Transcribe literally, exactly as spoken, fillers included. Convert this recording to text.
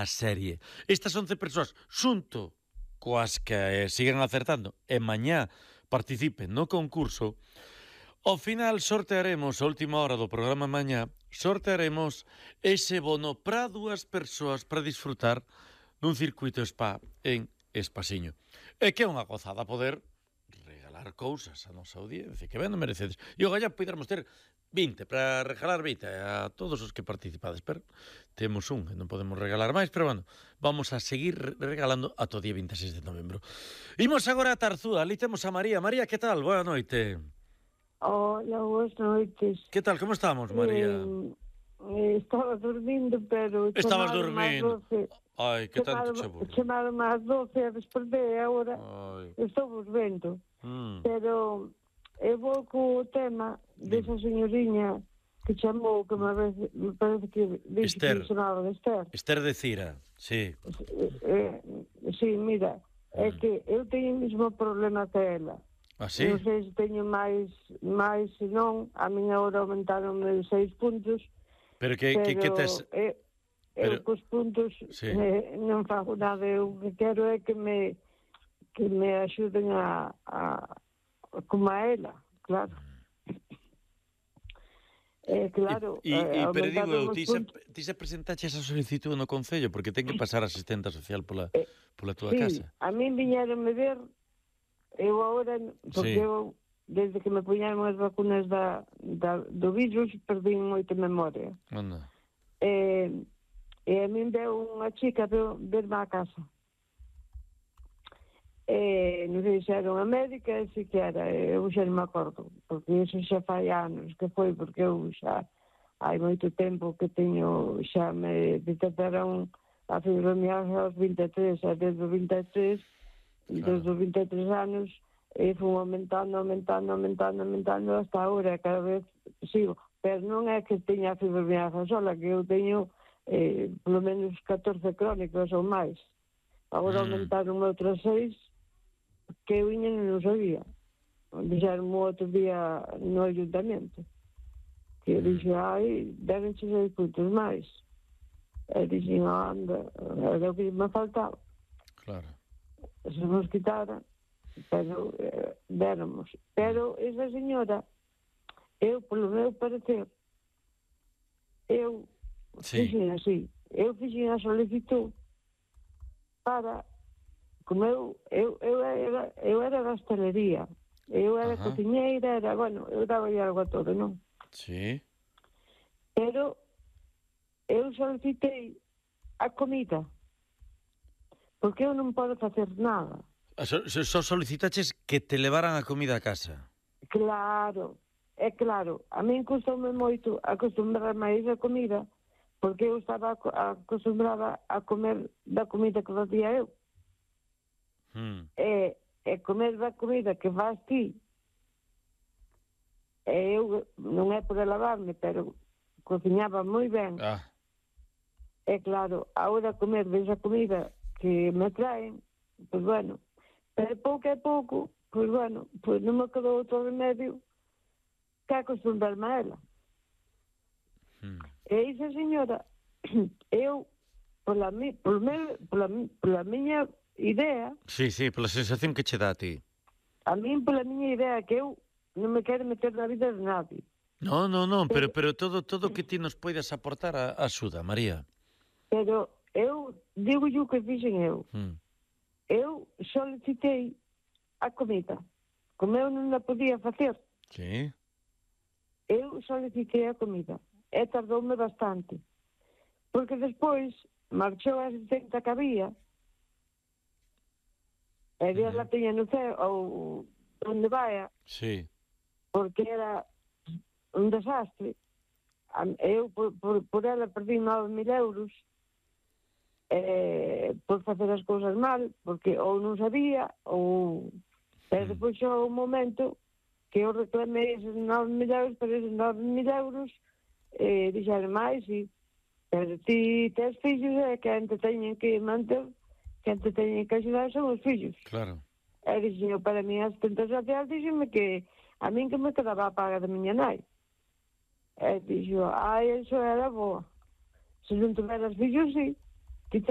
a serie. Estas once persoas, xunto coas que eh, siguen acertando, e mañá participen no concurso, ao final sortearemos, a última hora do programa mañá, sortearemos ese bono para dúas persoas para disfrutar nun circuito spa en Espasiño. E que é unha gozada poder regalar cousas a nosa audiencia, que ben non merecedes. E o galla podermos ter vinte, para regalar vinte a todos os que participades, pero temos un e non podemos regalar máis, pero bueno, vamos a seguir regalando ata o día vinte e seis de novembro. Imos agora a Tarzúa, ali temos a María. María, que tal? Boa noite. Hola, boas noites. Que tal, como estamos, María? Eh, estaba dormindo, pero... Estabas dormindo. Ai, que tanto che aburro. Chamaron máis doce e despertei agora. Estou volvendo. Mm. Pero eu vou co tema desa señoriña que chamou, que me parece, me parece que dixe que sonaba de Esther. Esther de Cira, sí. Eh, eh, sí, mira, é Mm. que eu teño o mesmo problema que ela. Ah, sí? Non sei se teño máis, máis se non, a miña hora aumentaron seis puntos. Pero que, pero que, que tes... Eu, eu pero... cos puntos sí. eh, non fago nada, eu que quero é que me que me axuden a, a como a ela, claro. Eh, claro, e, e, eh, pero digo eu, ti se, puntos... ti se presentache esa solicitud no Concello, porque ten que pasar a asistenta social pola, eh, pola túa sí, casa. A min viñeronme ver, eu agora, porque sí. eu, desde que me puñaron as vacunas da, da, do virus, perdí moita memoria. Anda. Eh, e a min veu unha chica ver, verme á casa. E non sei se era unha médica, se que era, eu xa non me acordo, porque iso xa fai anos que foi, porque eu xa hai moito tempo que teño, xa me detectaron a fibromialgia aos vinte e tres, e desde os vinte e tres, claro. Desde os vinte e tres anos, e fui aumentando, aumentando, aumentando, aumentando, hasta agora, cada vez sigo. Pero non é que teña a fibromialgia sola, que eu teño eh, polo menos catorce crónicos ou máis. Agora mm. aumentaron outras seis, que eu iña non sabía. Dixeron o outro día no ayuntamento. Que eu dixo, ai, deben ser seis puntos máis. E dixen, anda, era o que me faltaba. Claro. Se nos quitara, pero eh, déramos. Pero esa señora, eu, polo meu parecer, eu sí. fixen así. Eu fixen a solicitud para... Como eu, eu, eu, era, eu era da hostelería, eu era Ajá. cociñeira, era, bueno, eu daba algo a todo, non? Sí. Pero eu solicitei a comida, porque eu non podo facer nada. Só so, so solicitaches que te levaran a comida a casa? Claro, é claro, a min custoume moito acostumbrar máis a comida, porque eu estaba acostumbrada a comer da comida que facía eu. Hmm. E, e comer da comida que faz ti, e eu non é por alabarme, pero cociñaba moi ben. Ah. E claro, ahora comer desa comida que me traen, pois bueno, pero pouco a pouco, pois bueno, pois non me quedou outro remedio que acostumbrarme a ela. Hmm. E esa señora, eu, pola, mi, pola, pola, pola miña idea... Sí, sí, pola sensación que che dá a ti. A min, pola miña idea, que eu non me quero meter na vida de nadie. No, no, no, pero, pero todo todo que ti nos poidas aportar a, a axuda, María. Pero eu, digo yo que dixen eu, hmm. eu solicitei a comida. Como eu non a podía facer, sí. eu solicitei a comida. E tardoume bastante. Porque despois marchou a asistente que había, e Dios uh-huh. la teña no ceo, ou onde vaya, sí. porque era un desastre. Eu, por, por, por ela, perdi nove mil euros eh, por facer as cousas mal, porque ou non sabía, ou... Pero uh-huh. depois xo un momento que eu reclamei eses nove mil euros, pero eses nove mil euros eh, dixeron máis, e pero ti tes fillos, e que ante teñen que manter, que ante teñen que axudar son os fillos. Claro. E dixen, para mí, a asistente social, dixenme que a min que me quedaba a paga da miña nai. E dixo, ai, eso era boa. Se non tuveras fillos, sí.